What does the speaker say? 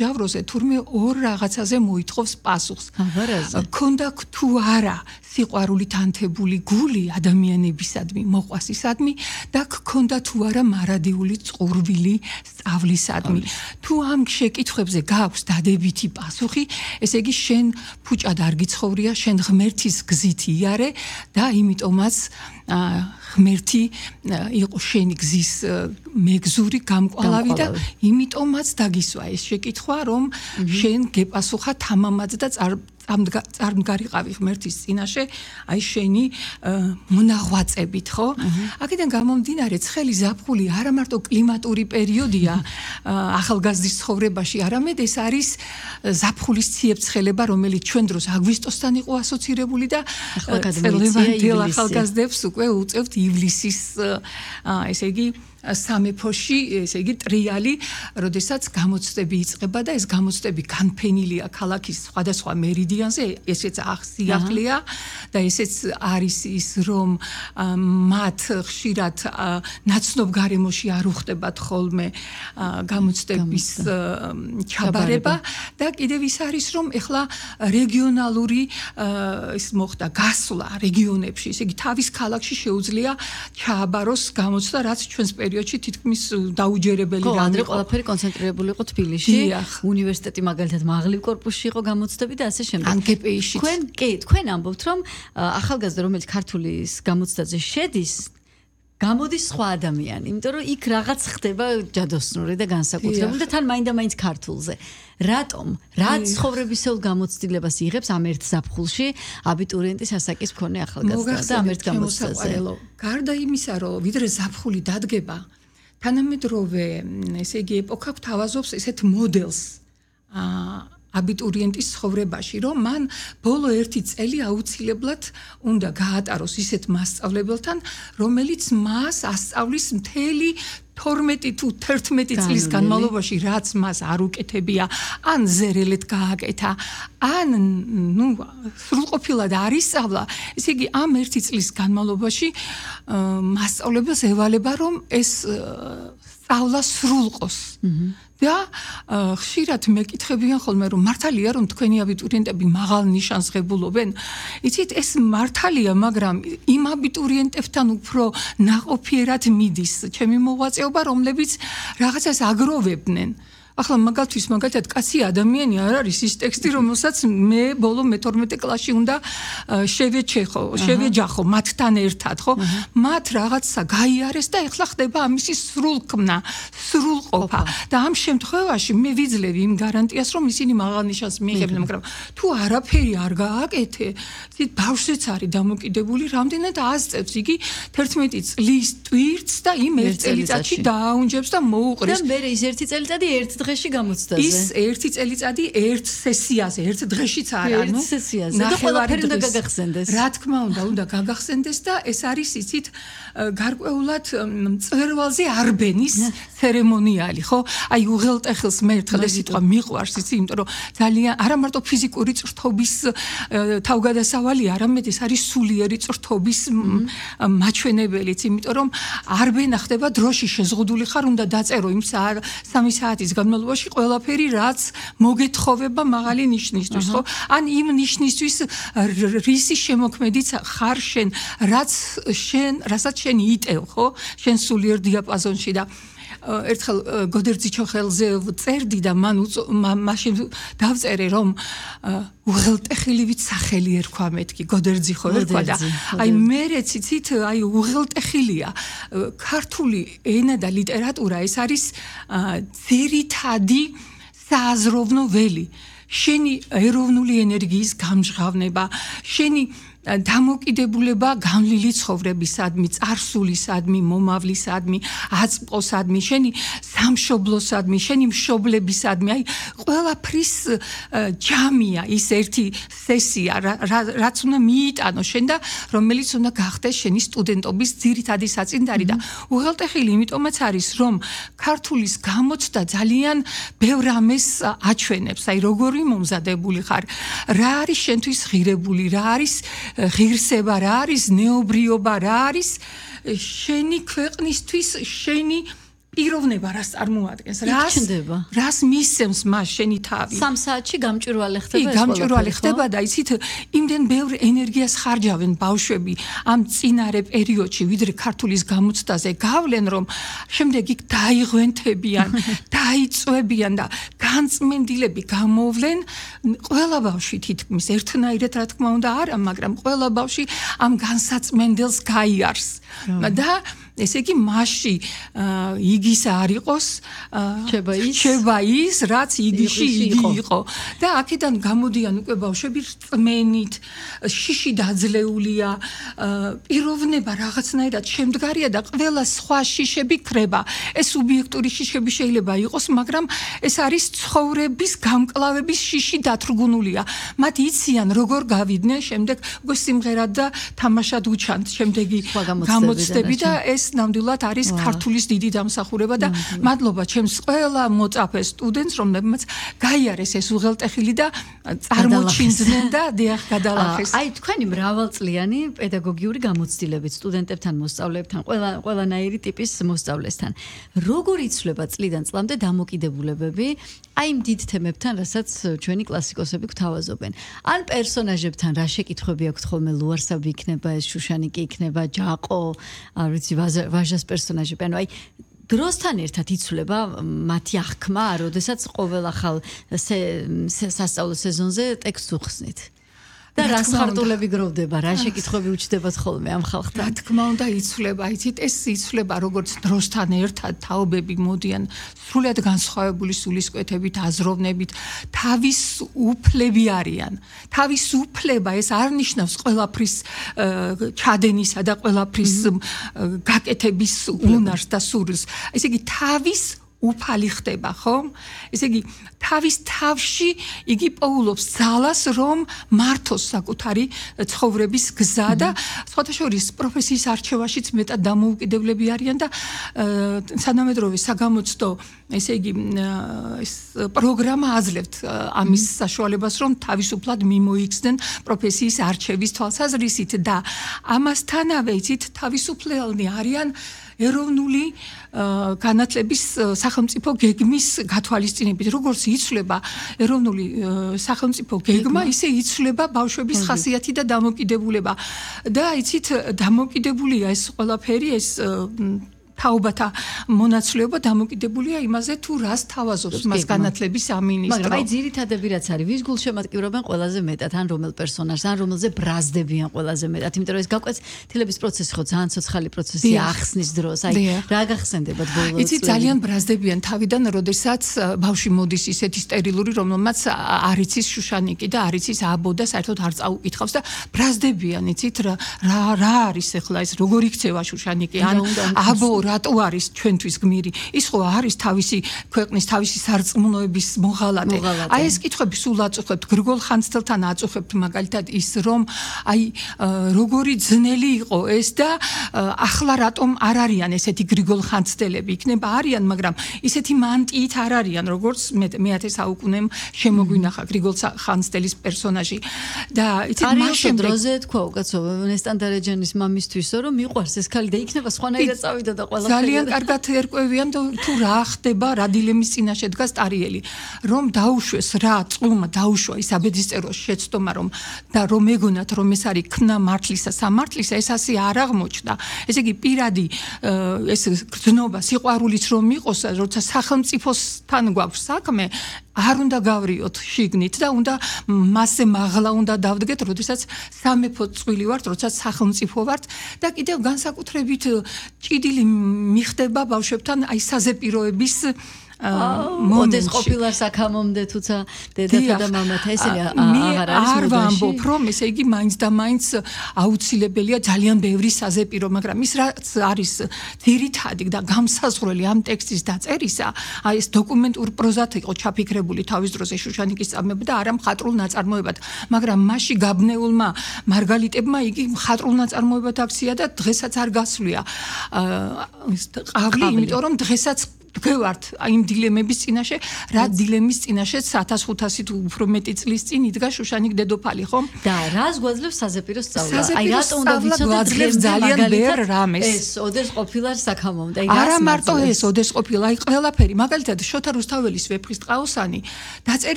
ჟავროზე თურმე ორ რაღაცაზე მოითხოვს პასუხს. ქონდა თუ არა სიყვარული თანთებული გული ადამიანებისადმი, მოყვასისადმი და ქონდა თუ არა მარადიული წყურვილი სწავლისადმი. თუ ამ შეკითხვებზე გაქვს დადებითი პასუხი, ესე იგი შენ ფუჭად არ გიცხოვრია, შენ ღმერთის გზით იარე და იმიტომაც ღმერთი იყო შენი გზის მეგზური გამკვალავი და იმიტომაც დაგისვა ეს შეკითხვა, რომ შენ გეპასუხა თამამად და წარმდგარიყავი ღმერთის წინაშე, აი შენი მონაღვაწებით, ხო? აქედან გამომდინარე, ცხელი ზაფხული არა მარტო კლიმატური პერიოდია ახალგაზრდის ცხოვრებაში, არამედ ეს არის ზაფხულის ციებ-ცხელება, რომელიც ჩვენ დროს აგვისტოსთან იყო ასოცირებული და ლევანდელ ახალგაზრდებს უკვე უწევთ ივლისის, ესე იგი სამეფოში, ესე იგი ტრიალი, როდესაც გამოცდები იწყება და ეს გამოცდები განფენილია ქალაქის სხვადასხვა მერიდიანზე, ესეც ახსიახლეა და ესეც არის ის, რომ მათ ხშირად ნაცნობ გარემოში არ უხდებათ ხოლმე გამოცდების ჩაბარება და კიდევ ის არის, რომ ეხლა რეგიონალური ის მოხდა გასვლა რეგიონებში, ესე იგი თავის ქალაქში შეუძლია ჩააბაროს გამოცდა, რაც ჩვენს პერიოდში თითქმის დაუჯერებელი რამე. ადრე ყველაფერი კონცენტრირებული იყო თბილისში, უნივერსიტეტი მაგალითად მაღლივ კორპუსში იყო გამოცდები და ასე შემდეგ. ანკეპეიში. თქვენ ამბობთ, რომ ახალგაზრდა, რომელიც ქართულის გამოცდაზე შედის, გამოდის სხვა ადამიანი, იმიტომ რომ იქ რაღაც ხდება ჯადოსნური და განსაკუთრებული და თან მაინდა-მაინც ქართულზე. რატომ? რა ცხოვრებისეულ გამოცდილებას იღებს ამ ერთ ზაფხულში აბიტურიენტის ასაკის მქონე ახალგაზრდა და ამ ერთ გამოცდაზე? გარდა იმისა, რომ ვიდრე ზაფხული დადგება, თანამედროვე, ესე იგი, ეპოქა გვთავაზობს ესეთ მოდელს აბიტურიენტის ცხოვრებაში, რომ მან ბოლო 1 წელი აუცილებლად უნდა გაატაროს ისეთ მასწავლებელთან, რომელიც მას ასწავლის მთელი 12 თუ 11 წლის განმავლობაში, რაც მას არ უკეთებია, ან ზერელეთ გააკეთა, ან სრულყოფილად არ ისწავლა, ესე იგი ამ 1 წლის განმავლობაში მასწავლებელს ევალება, რომ ეს სწავლა სრულყოს. და ხშირად მეკითხებიან ხოლმე, რომ მართალია, რომ თქვენი აბიტურიენტები მაღალ ნიშანს ღებულობენ? იცით, ეს მართალია, მაგრამ იმ აბიტურიენტებთან უფრო ნაყოფიერად მიდის ჩემი მოღვაწეობა, რომლებიც რაღაცას აგროვებდნენ. ახლა მაგალითად კაცი ადამიანი არ არის ის ტექსტი, რომელსაც მე ბოლო მე-12 კლასში უნდა შევეჯახო მათთან ერთად, ხო? მათ რაღაცა გაიარეს და ეხლა ხდება ამისი სრულქმნა, სრულყოფა. და ამ შემთხვევაში მე ვიძლევი იმ გარანტიას, რომ ისინი მაღალ ნიშანს მიიღებენ, მაგრამ თუ არაფერი არ გააკეთე, ბავშვიც არის დამოკიდებული, რამდენად ასწევს იგი 11 წლის ტვირთს და იმ 1 წელიწადში დააუნჯებს და მოუყრის. და მე ის 1 წელიწადი ერთ დღეში გამოცდაზე. ის 1 წელიწადი ერთ სესიაზე, ერთ დღეშიც არა, ერთ სესიაზე. და ყველაფერი უნდა გაგახსენდეს. რა თქმა უნდა გაგახსენდეს და ეს არის იცით გარკვეულად მწვერვალზე არბენის ცერემონიალი, ხო? აი უღელტეხილს მე ერთხელ ეს სიტყვა მიყვარს, იცი, იმიტომ რომ ძალიან არა მარტო ფიზიკური წრთობის თავგადასავალი, არამედ ეს არის სულიერი წრთობის მაჩვენებელიც, იმიტომ რომ არბენა ხდება დროში შეზღუდული ხარ, უნდა დაწერო იმ 3 საათის განმავლობაში ყველაფერი, რაც მოგეთხოვება მაღალი ნიშნისთვის, ხო? ან იმ ნიშნისთვის რისი შემოქმედიც ხარ შენ, რასაც შენ იტევ, ხო? შენ სულიერ დიაპაზონში და ერთხელ გოდერძიჩოხელზე წერდი და მაშინ დავწერე, რომ უღელტეხილივით სახელი ერქვა მეთქი, გოდერძიხო ერქვა და აი მერეც იცით, აი უღელტეხილია. ქართული ენა და ლიტერატურა ეს არის ძირითადი სააზროვნო ველი. შენი ეროვნული ენერგიის გამჟღავნება, შენი დამოკიდებულება განვლილი ცხოვრებისადმი, წარსულისადმი, მომავლისადმი, აწმყოსადმი, შენი სამშობლოსადმი, შენი მშობლებისადმი, აი ყველაფრის ჯამია ის ერთი სესია, რაც უნდა მიიტანო შენ და რომელიც უნდა გახდეს შენი სტუდენტობის ძირითადი საწინდარი და უღელტეხილი იმიტომაც არის, რომ ქართულის გამოცდა ძალიან ბევრ ამეს აჩვენებს, აი როგორი მომზადებული ხარ, რა არის შენთვის ღირებული, რა არის ღირსება, რა არის ნეობრიობა, რა არის შენი ქვეყნისთვის შენი პიროვნება რას წარმოადგენს, ჩნდება. რას მისცემს მას შენი თავი. 3 საათში გამჭვირვალე ხდება ეს გამჭვირვალე ხდება და იცით, იმდენ ბევრ ენერგიას ხარჯავენ ბავშვები ამ წინარე პერიოდში, ვიდრე ქართულის გამოცდაზე გავლენ, რომ შემდეგ იქ დაიღვენთებიან, დაიწვევიან და განწმენდილები გამოვლენ. ყველა ბავშვი თითქმის ერთნაირად რა თქმა უნდა არა, მაგრამ ყველა ბავშვი ამ განსაწმენდელს გაიარს. და ესე იგი მასში იგის არ იყოს, რჩება ის, რაც იგიში იგი იყო. და აქედან გამოდიან უკვე ბავშვები რწმენით, შიში დაძლეულია, პიროვნება რაღაცნაირად შემდგარია და ყველა სხვა შიშები ქრება. ეს სუბიექტური შიშები შეიძლება იყოს, მაგრამ ეს არის ცხოვრების გამკლავების შიში დათრგუნულია. მათ იციან როგორ გავიდნენ შემდეგ უკვე სიმღერად და თამაშად უჩანთ შემდეგი გამოცდები და ეს ნამდვილად არის ქართულის დიდი დამსახურება და მადლობა ჩემს ყველა მოწაფე სტუდენტს, რომლებმაც გაიარეს ეს უღელტეხილი და წარმოჩინდნენ და დიახ გადალახეს. აი თქვენი მრავალწლიანი პედაგოგიური გამოცდილებით სტუდენტებთან, მოსწავლეებთან, ყველანაირი ტიპის მოსწავლესთან. როგორ იცვლება წლიდან წლამდე დამოკიდებულებები აი იმ დიდ თემებთან, რასაც ჩვენი კლასიკოსები გვთავაზობენ. ან პერსონაჟებთან რა შეკითხვები აქვთ ხოლმე, ლუარსაბი იქნება ეს, შუშანიკი იქნება, ჯაყო, არ ვიცი, ვაჟას პერსონაჟები, ანუ აი დროსთან ერთად იცვლება მათი აღქმა, როდესაც ყოველ ახალ სასწავლო სეზონზე ტექსტს უხსნით. და რა ხარტულები გროვდება, რა შეკითხვები უჩნდებათ ხოლმე ამ ხალხთან. რა თქმა უნდა იცვლება, იცით, ეს იცვლება როგორც დროსთან ერთად თაობები მოდიან სრულად განსხვავებული სულისკვეთებით, აზროვნებით, თავისუფლები არიან. თავისუფლება ეს არ ნიშნავს ყველაფრის ჩადენისა და ყველაფრის გაკეთების უნარს და სურვილს. ესე იგი უფალი ხდება, ხო? ესე იგი თავის თავში იგი პოულობს ძალას, რომ მართოს საკუთარი ცხოვრების გზა და სხვათა შორის პროფესიის არჩევაშიც მეტად დამოუკიდებლები არიან და თანამედროვე საგამოცდო, ესე იგი ეს პროგრამა აძლევთ ამის საშუალებას, რომ თავისუფლად მიმოიქცნენ პროფესიის არჩევის თვალსაზრისით და ამასთანავე იცით თავისუფლელნი არიან ეროვნული განათლების სახელმწიფო გეგმის გათვალისწინებით. როგორც იცვლება ეროვნული სახელმწიფო გეგმა, ისე იცვლება ბავშვების ხასიათი და დამოკიდებულება. და იცით, დამოკიდებულია ეს ყველაფერი, ეს თაობათა მონაცვლეობა დამოკიდებულია იმაზე, თუ რას თავაზობს მას განათლების სამინისტრო. მაგრამ აი ძირითადები რაც არის, ვის გულშემატკივრობენ ყველაზე მეტად, ან რომელ პერსონაჟს, ან რომელზე ბრაზდებიან ყველაზე მეტად, იმიტომ რომ ეს გაკვეთილების პროცესი ხო ძალიან ცოცხალი პროცესია ახსნის დროს. აი რა გახსენდებათ ბოლო წლებში? იცით, ძალიან ბრაზდებიან თავიდან, როდესაც ბავშვი მოდის ისეთი სტერილური, რომელმაც არ იცის შუშანიკი და არ იცის აბო და საერთოდ არ წაუკითხავს და ბრაზდებიან, იცით, რა არის ახლა ეს, როგორ იქცევა შუშანიკი, ან აბო რატო არის ჩვენთვის გმირი? ის ხო არის თავისი ქვეყნის, თავისი სარწმუნოების მოღალატე. აი ეს კითხვები სულ აწუხებთ, გრიგოლ ხანძთელთან აწუხებთ მაგალითად ის, რომ აი როგორი ძნელი იყო ეს და ახლა რატომ არ არიან ესეთი გრიგოლ ხანძთელები? იქნება არიან, მაგრამ ისეთი მანტიით არ არიან, როგორც მე-10 საუკუნემ შემოგვინახა გრიგოლ ხანძთელის პერსონაჟი. და იცით, მას შემდეგ დროზე თქვა უკაცრავად ნესტან-დარეჯანის მამისთვისო, რომ მიყვარს ეს ქალი და იქნება სხვანაირად წავიდა და ძალიან კარგად ერკვევიან თუ რა ხდება, რა დილემის წინაშე დგას ტარიელი, რომ დაუშვეს რა წყლმა დაუშვა ის აბედისწეროს შეცდომა, რომ და რომ ეგონათ, რომ ეს არის ქნა მართლისა, სამართლისა, ეს ასე არ აღმოჩნდა. ესე იგი პირადი ეს გრძნობა, სიყვარულიც რომ იყოს, როცა სახელმწიფოსთან გვაქვს საქმე, არ უნდა გავრიოთ შიგნით და უნდა მასზე მაღლა უნდა დავდგეთ, როდესაც სამეფო წვილი ვართ, როდესაც სახელმწიფო ვართ და კიდევ განსაკუთრებით ჭიდილი მიხდება ბავშვებთან აი საზეპიროების მოდეს ყოფილა საქამომდე თუცა დედათა და მამათა ესენი აღარ არის არ ვამბობ რომ ესე იგი მაინც და მაინც აუცილებელია ძალიან ბევრი საზეპირო, მაგრამ ის რაც არის ძირითადი და გამსაზღვრელი ამ ტექსტის დაწერისა, აი ეს დოკუმენტურ პროზად იყო ჩაფიქრებული თავის დროზე შუშანიკის წამება და არა მხატვრულ ნაწარმოებად, მაგრამ მასში გაბნეულმა მარგალიტებმა იგი მხატვრულ ნაწარმოებად აქცია და დღესაც არ გასვლია ყავლი, იმიტომ რომ დღესაც თქვევართ იმ დილემების წინაშე, რა დილემის წინაშე 1500 თუ უფრო მეტი წლის წინ იდგა შუშანիկ დედოფალი, ხო? და რას გვაძლევს საზეპირო სწავლა? რატო უნდა ვიცოდეთ ძალიან ბევრ რამეს. ეს ოდეს ყოფილა საქამომდა. არა მარტო ეს ოდეს ყოფილა, აი ყველაფერი, მაგალითად შოთა რუსთაველის ვეფხისტყაოსანი დაწერილი